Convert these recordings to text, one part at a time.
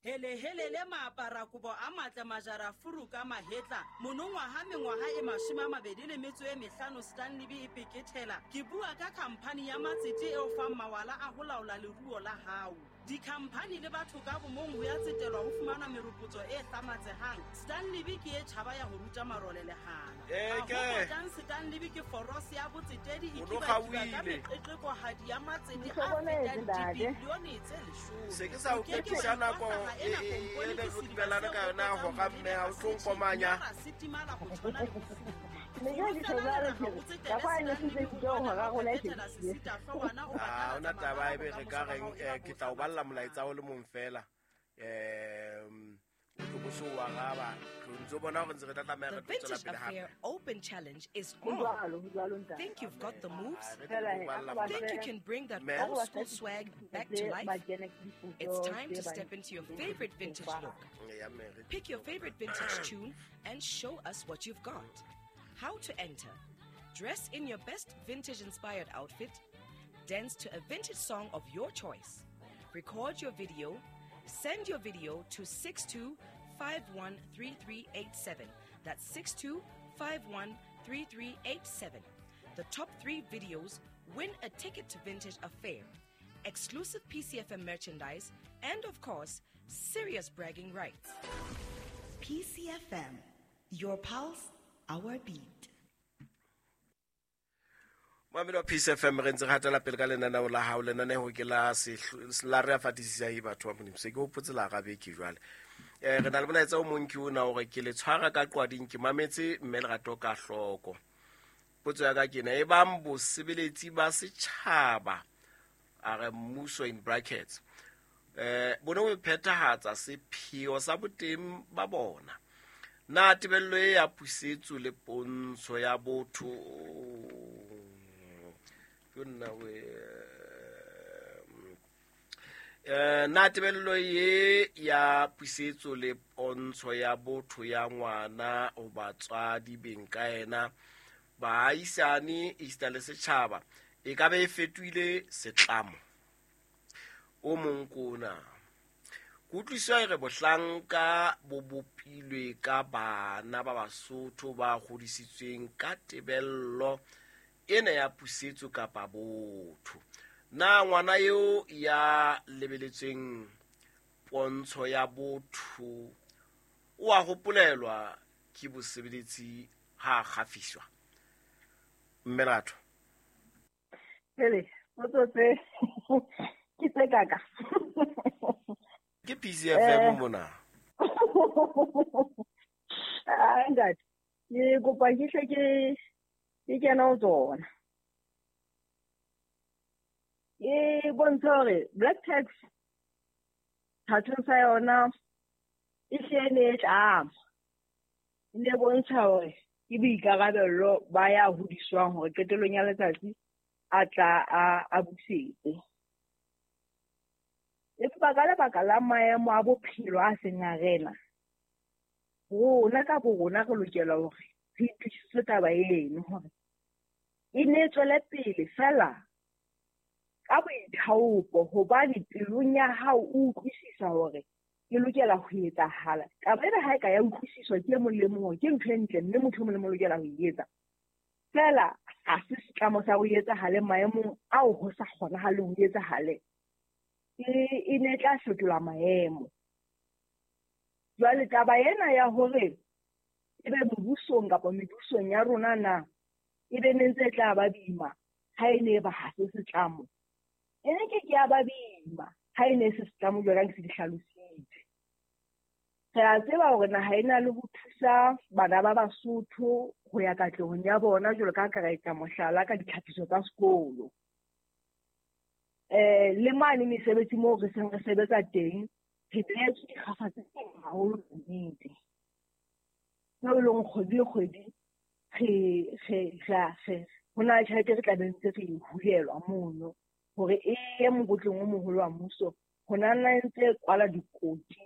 Helehelele maaparakobo a matle majarafuru ka mahetla monongwaha mengwaha e 25 Stanley e pekethela. Ke bua ka khamphani ya matsete e o fang mawala a ho laola leruo la hao. Dikhamphani le batho ka bomong ho ya tsetelwa ho fumana meropotso e hlamatsehang. Stanley ke e tjhaba ya ho ruta marole lehala. Eh, Ha ho potang Stanley ke forose ya botsetedi e O no kibakiba ka kgaohile. meqeqekohadi ya matsete a Ntlhokometse, fetang ntate. dibilione tse 10. Se ke sa o O ke ke wa phethisa nako ikwahlaha e ena e kompone e ke re sediba dumelana se ka yona hopetsang hora mme ha o tlo molebe nkomanya. mme ra setimala ho tshwana le bofuma. Ne ke re Fela ke leraha re o tsetele ka kwa ne se Stanley se ho ke bona hora ha o rona e phethela fedile. sesitahloohwana o Ha batalatsa hona taba mabala ebe re ka bokamoso ba reng hao e ba ke tla o bo balla molaetsa hlamatsehang. o le mong fela. O tlo bo so o araba. Re ntso bona hore ntse re tla tlameha The re tlo tswela Vintage pele hape. Affair Open Challenge is Ho on. jwalo, ho jwalo ntate. Think you've got the moves? Ah, re tlo Fela o he, balla a ko ba Think you fe can bring that Ma'am? a ko old ba school fe swag ditshepiso back to tse life? ba kene It's dipotso time tse to ba step into your ntseng favorite ho vintage fa. look. Ya mme re Pick your favorite vintage tune and show us what you've got. How to enter. Dress in your best vintage inspired outfit. Dance to a vintage song of your choice. Record your video. Send your video to 62513387. That's 62513387. The top 3 videos win a ticket to Vintage Affair, exclusive PCFM merchandise, and of course, serious bragging rights. PCFM, your pulse, our beat. Mamedi wa Peace FM re ntse re hatela pele ka lenaneo la hao. Lenaneo ke la la re a fatisisa e batho ba Modimo. Se ke hopotse la gabeke jwale. Re na le molaetsa o mong ke ona hore ke le tshwara ka qwading ke mametse mme Lerato ka hloko. Potso ya ka ke ena, e bang bosebeletsi ba setjhaba a re mmuso in brackets bo ne bo phethahatsa sepheo sa boteng ba bona. Na tebello e ya pusetso le pontsho ya botho ke nna we na tebello ye ya pusetso le pontsho ya botho ya ngwana ho batswadi beng ka yena baahisane esita le setjhaba e ka be e fetohile setlamo. O mong ke ona. Kutlwisiso e re bohlanka bo bopilwe ka bana ba Basotho ba hodisitsweng ka tebello ena ya pusetso kapa botho. Na ngwana eo ya lebeletsweng pontsho ya botho o a hopolelwa ke bosebeletsi ha a kgafiswa? Mme Lerato. Pele, potso tse ke tse kaka. Ke PCFM mona. Ah, ntate, ke kopa ke hle ke kena ho tsona. E bontsha hore black tax thathong sa yona e hle ne e tlama. E ne bontsha hore ke boikarabello ba ya hodiswang hore qetellong ya letsatsi a tla a busetse. Empa ka lebaka la maemo a bophelo a seng a rena, rona ka bo rona re lokela hore re itokisetse taba eno hore e ne e tswele pele fela ka boithaopo, hobane pelong ya hao o utlwisisa hore e lokela ho etsahala. Taba ena ha e ka ya utlwisiswa ke e mong le mong hore ke ntho e ntle mme motho e mong le mong o lokela ho e etsa. Fela ha se setlamo sa ho etsahale maemong ao ho sa kgonahaleng ho etsahale. E ne tla fetola maemo. Jwale taba ena ya hore ebe mebusong kapa mebusong ya rona na ebe ne ntse e tla ba boima ha e ne e ba ha se setlamo. E ne ke ke ya ba boima ha e ne e se setlamo jwalo ka ke se di hlalositse. Re a tseba hore naha e na le ho thusa bana ba Basotho ho ya katlehong ya bona jwalo ka ha ka ra etsa mohlala ka ditlhapiso tsa sekolo. Le mane mesebetsi moo re seng re sebetsa teng, re behetswe dikgafa tse teng haholo nnete. Tseo e leng kgwedi le kgwedi re ho na le tjhelete re tla be ntse re e hulelwa mono hore e ye mokotleng o moholo wa mmuso ho nna ntse kwala dikoti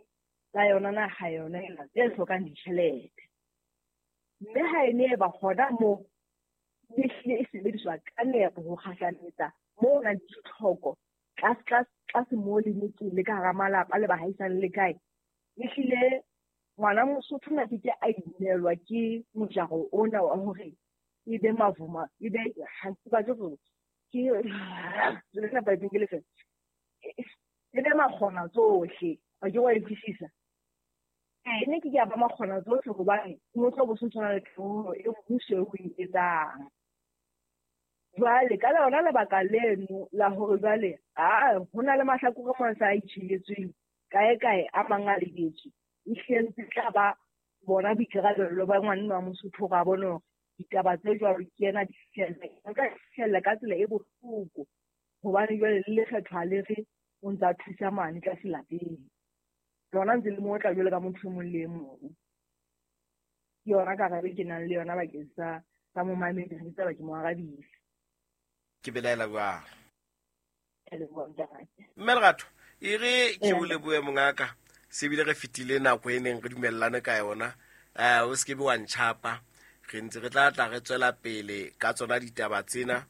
tsa yona naha yona ena tse hlokang ditjhelete. Mme ha e ne e ba hona moo e hlile e sebediswa ka nepo ho kgahlametsa moo ho nang le ditlhoko tlase mo le metseng le ka hara malapa le bahaisane le kae, ehlile ngwana Mosotho na ke a imelwa ke mojaro ona wa hore e be mavuma, e be ha ke batle hore ke le ba ke le fe e be makgona tsohle. A ke wa utlwisisa? E ne ke ya ba makgona tsohle hobane motho bo se tshwana le karolo e mmuso o e etsang. Jwale ka lona lebaka leno la hore jwale ho na le mahlakore mang sa itjhebetsweng kae kae a mang a lebetswe, ehlile ntse tla ba bona boikarabello ba ngwana wa Mosotho hore a bone hore ditaba tse jwalo ke yena di fihlella ka tsela e bohloko, hobane jwale le lekgetho ha le re o ntsa thusa mane tlase lapeng, lona ntse le mo tla jwale ka motho e mong le e mong. Ke yona karabo ke nang le yona bakeng sa momamedi, re tseba ke mo arabile. Ke belaela jwang? Mme Lerato, e re ke o lebohe mongaka, se bile re fetile nako e neng re dumellane ka yona. O se ke be wa ntjhapa, re ntse re tla tla re tswela pele ka tsona ditaba tsena.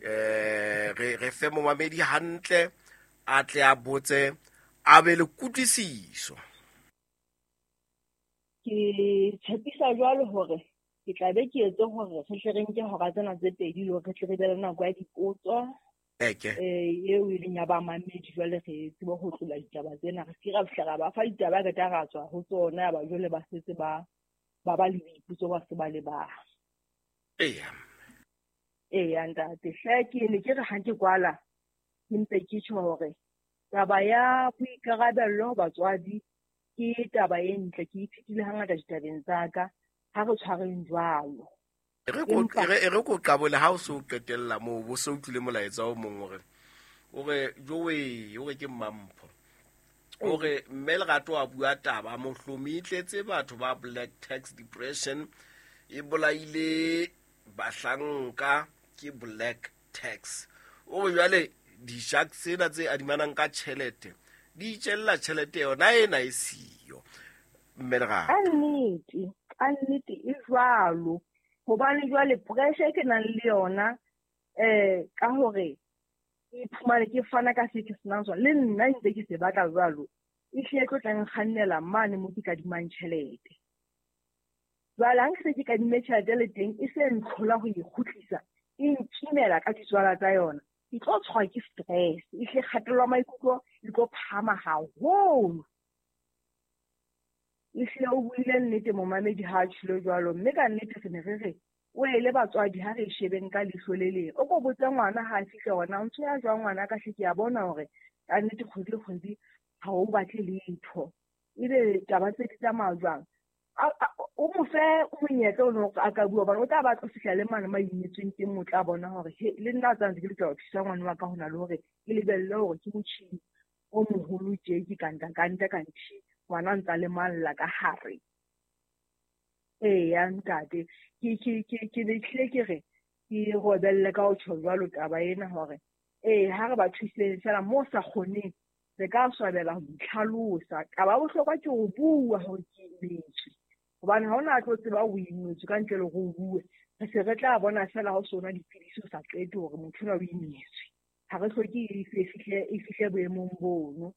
Re fe momamedi hantle, a tle a botse, a be le kutlwisiso. Ke tshepisa jwalo hore ke tla be ke etse hore re tle re nke hora tsena tse pedi le hore re tle re be le nako ya dipotso. Eo e leng ya bamamedi, jwale re tsebe ho tlola ditaba tsena, re se ra fihla ra ba fa ditaba re tla ra tswa ho tsona, ya ba jwale ba setse ba ba le boipotso ba se ba le ba. Eya ntate, hle ke ne ke re ha ke kwala ke mpe ke tjho hore taba ya boikarabello batswadi ke taba e ntle, ke ithutile hangata ditabeng tsa ka, ha re tshwareng jwalo. E re ko qabole ha o so qetella moo, bo so utlwile molaetsa o mong o re jowe, o re ke Mmampho, o re mme Lerato a bua taba mohlomi e tletse batho ba black tax depression e bolaile bahlanka ke black tax. O re jwale di-shark tsena tse adimanang ka tjhelete di itjella tjhelete yona ena e siyo. Mme Lerato, ka nnete e jwalo, hobane jwale pressure ke nang le yona ka hore ke iphumane ke fana ka se ke senang sona, le nna ntse ke se batla jwalo, ehlile tlo tla nkgannela mane mo ke kadimang tjhelete. Jwale ha nke se ke kadimme tjhelete le teng e se ntlhola ho e kgutlisa, e nkimela ka ditswala tsa yona, ke tlo tshwarwa ke stress, ehlile kgatello ya maikutlo e tlo phahama haholo. Ehlile o buile nnete momamedi ha a tjhilo jwalo, mme ka nnete re ne re re o ele batswadi ha re shebeng ka leihlo le leng. O ko botse ngwana ha a fihla hore na o ntho ya jwang ngwana ka hle, ke a bona hore ka nnete kgwedi le kgwedi ha o batle letho, ebe taba tse di tsamaya jwang. O mo fe monyetla o no a ka bua, hobane o tla ba tlo fihla le mane ma imetsweng teng, o tla bona hore he le nna tsa ntse ke lokela ho thusa ngwana wa ka, hona le hore ke lebelle hore ke motjhini o moholo tje ke kanta kanthe ngwana ntsa le malla ka hare. Eya ntate, ke be hlile ke re ke robelle ka ho tjho jwalo taba ena hore ha re ba thuseng fela mo sa kgoneng, re ka swabela ho itlhalosa. Taba ya bohlokwa ke ho bua hore ke imetswe, hobane ha ona tlo tseba o imetswe ka ntle le hore o bue. Re se re tla bona fela ha o sona dipidisi o sa qete hore motho ona o imetswe. Ha re hloke e fihle boemong bono.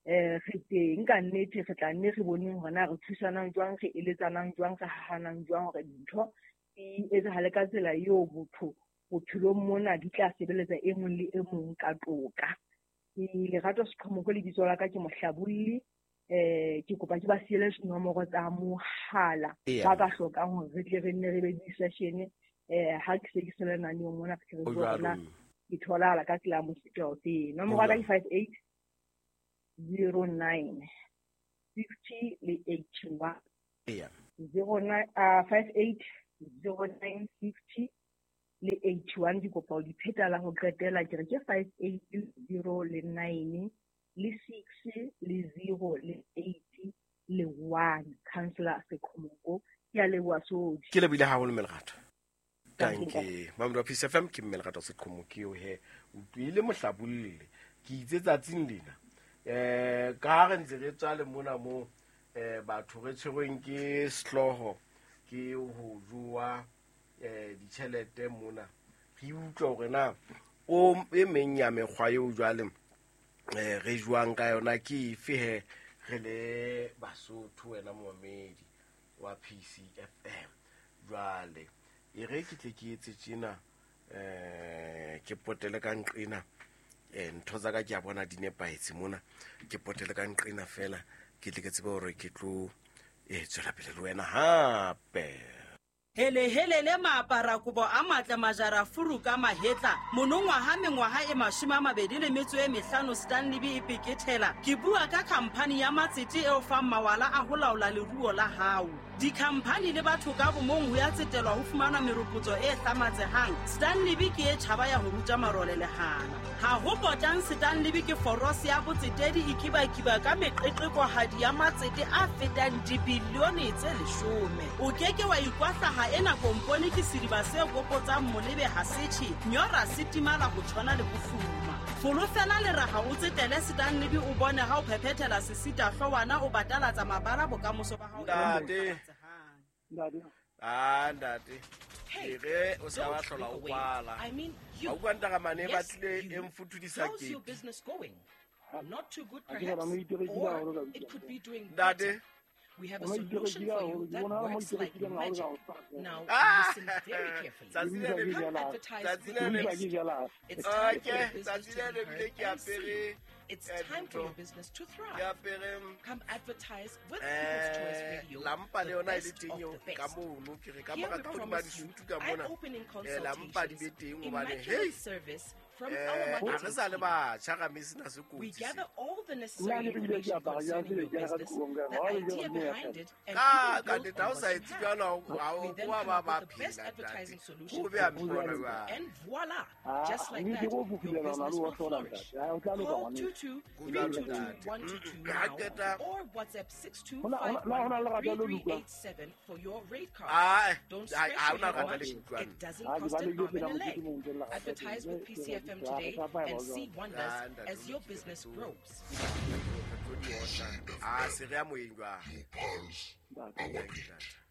Re teng ka nnete, re tla nne re boneng hore na re thusanang jwang, re eletsanang jwang, re hahanang jwang hore dintho di etsahale ka tsela eo botho bophelong mona di tla sebeletsa e mong le e mong ka toka. Ke Lerato Seqhomoko lebitso la ka, ke mohlabolli. Ke kopa ke ba siele dinomoro tsa mohala ba ka hlokang hore re tle re nne re be di-session. Ha ke se ke se lenaneong mona, re tle re bona ke tholahala ka tsela ya mofuta ofe. Nomoro ya ka ke 58 09 60 le 81. 09 58 09 60 le 81. Ke kopa ho di pheta la ho qetela, ke re ke 5 8 0 le 9 le 6 le 0 le 8 le 1. Councillor Seqhomoko, ke a leboha Sodi. Ke lebohile haholo mme Lerato. Danke. Mamedi wa Peace FM, ke mme Lerato Seqhomoko eo he. O utlwile mohlabolle. Ke itse tsatsing lena, ka ha re ntse re tswa le mona mo batho re tshwerweng ke sehlooho ke ho jowa ditjhelete mona, re utlwa hore na o e meng ya mekgwa eo jwale Re jwang ka yona ke efe he re le Basotho wena momamedi wa PCFM. Jwale e re ke tle ke etse tjena ke potele ka nqena ntho tsa ka ke a bona di nepahetse mona, ke potele ka nqena fela ke tle ke tsebe hore ke tlo tswela pele le wena hape. Hele hele le maapara kobo a matle majara furu ka mahetla monongwaha mengwaha e 25 Stanley e pekethela. Ke bua ka khampani ya matsete eo fang mawala a ho laola leruo la hao. Dikhampani le batho ka bomong ho ya tsetelwa ho fumana meropotso e hlamatsehang. Stanley ke e tjhaba ya ho ruta marole lehana. Ha ho potang Stanley ke forose ya botsetedi e kibakiba ka meqeqekohadi ya matsete a fetang dibilione tse 10. O keke wa ikwahlaha ena kompone ke sediba se kopotsang molebe ha setjhe nyora se timala ho tshwana le bofuma. Folofela le raha o tsetele Stanley o bone ha o phephethela sesita hlowana o batalatsa mabala bokamoso ba hao. Ntate. Ntate. Re o sa ba hlola o kwala. I mean, you. Ha o kwanta mane ba Yes, tlile you. e mfutudisa How's your ke. business going? Not too good, Ha ke perhaps, bona mo iterekile haholo or ka it bitsa. could be doing Ntate. better. We have a Mo solution iterekile for you haholo, ke that bona mo works like iterekileng haholo magic. ka ho tshwana. Now Ah! listen very carefully. Tsatsi le le Ke Come advertise Tsatsi with le the le utlwa best. ke jala. It's time for your Okay, business tsatsi to le be le heard bile ke and seen. apere It's time for dintho. your business to Ke thrive. apere Come advertise with People's Choice Radio, lampa le the yona e le best teng of eo the ka best. mono ke re ka Here mora we ka hodima promise you disutu ka mona eye-opening lampa di be consultations, teng hobane hey immaculate service from our ha re marketing sa le team. batjha ga me sena se We kotsi se. gather all the Nna necessary ke bile ke information apara jang concerning ke your ke ya ka business, dikobong ka the ha le idea jalo mme ya behind fela. it, and Ka even ka build nnete ha on o sa what you etse have. jwalo ha We o then wa come ba up ba with the best phela ntate. advertising solution Ho for be a your mpona business. jwang. And voila, Ah, just like mme that, ke go your fufulela business ngwana will o hlola flourish. ntate. Ha o tla loka Call ngwaneso. 22 Ho jwalo 322 ntate. 122 Ha now qeta or WhatsApp Hona hona le rata le utlwang. 62513387 for your rate card. Ah, Don't ha scratch ha your ona head rata le much. utlwang. It doesn't Ha ke cost ba le an ke arm and phela a leg. modimo o ntse le rata Advertise teng. with Ke PCFM ke re today sa apaya and jwang. see wonders Ah, ntate as o your lokile, re business tlo grows. re tlo di otla. Ah, se re ya moyeng jwang. Ntate. Thank you, ntate.